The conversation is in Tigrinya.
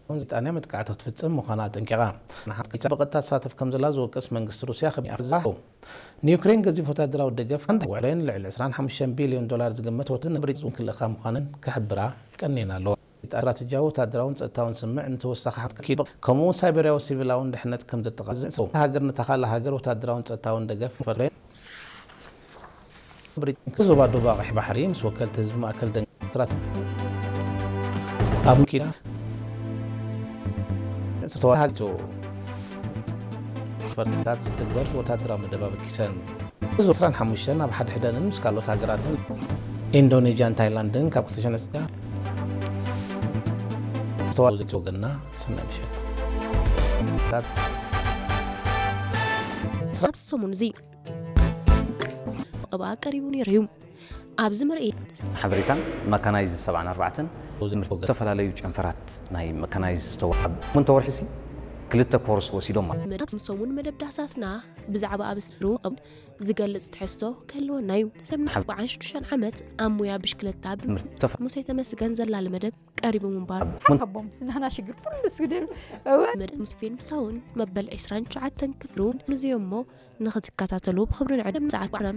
ብሪጣንያ መጥቃዕቲ ክትፍጽም ምዃና ኣጠንቂቓ። ንሓንቲ ብቐጥታ ትሳተፍ ከም ዘላ ዝወቅስ መንግስቲ ሩስያ ከቢድ ኣፍዛሑ። ንዩክሬን ገዚፍ ወታደራዊ ደገፍ ሓንቲ ውዕለን ልዕሊ ዕስራን ሓሙሽተን ቢልዮን ዶላር ዝግመት ወትን ንብሪጣንያ ክልእኻ ምዃነን ክሕብራ ቀኒና ኣለዋ። ስትራተጂያዊ ወታደራውን ጸጥታውን ስምዕ ንተወሳኺ ሓንቲ ኪሎ፣ ከምኡ እውን ሳይበርያዊ ሲቪላውን ድሕነት ከም ዘጠቓልል ዝሕሰቡ። ሃገር ነታ ካልእ ሃገር ወታደራውን ጸጥታውን ደገፍ ፈርሬን ብሪጣንያ ዞባ ዶብ ኣቕሒ ባሕሪ ምስ ወከልቲ ህዝቢ ማእከል ደንክራት ኣብ ኪና ዝተዋሃግቱ ፈርታት ዝትግበር ወታደራዊ መደብ ኣበጊሰን። እዚ ዕስራን ሓሙሽተን ኣብ ሓድሕደንን ምስ ካልኦት ሃገራትን ኢንዶኔዥያን ታይላንድን ካብ ክልተ ሽሕን ዝተዋዘ ወገንና ሰናይ ምሸት። ኣብዚ ሰሙን እዚ ብቐብኣ ቀሪቡ ነይሩ እዩ። ኣብዚ ምርኢት ሓበሬታን መካናይዝ ሰብዓን ኣርባዕተን ዝተፈላለዩ ጨንፈራት ናይ መካናይዝ ዝተዋሃብ። ሞንተ ወርሒ ሲ ክልተ ኮርስ ወሲዶም ማለት መደብ ሰሙን መደብ ዳህሳስና ብዛዕባ ኣብ ስሩ ዝገልጽ ትሕዝቶ ክህልወና እዩ። ሰብ ንሓብዓን ሽዱሽተን ዓመት ኣብ ሙያ ብሽክለታ ብሙሴ ተመስገን ዘላለ መደብ ቀሪቡ ምንባር ሓቦም ስናና ሽግር ኩሉ ስግደሉ መደብ ሙስፌን ምሳውን መበል ዕስራን ትሽዓተን ክፍሉ ንዝዮ እሞ ንኽትከታተሉ ብኽብሪ ንዕድም ሰዓት ቁራም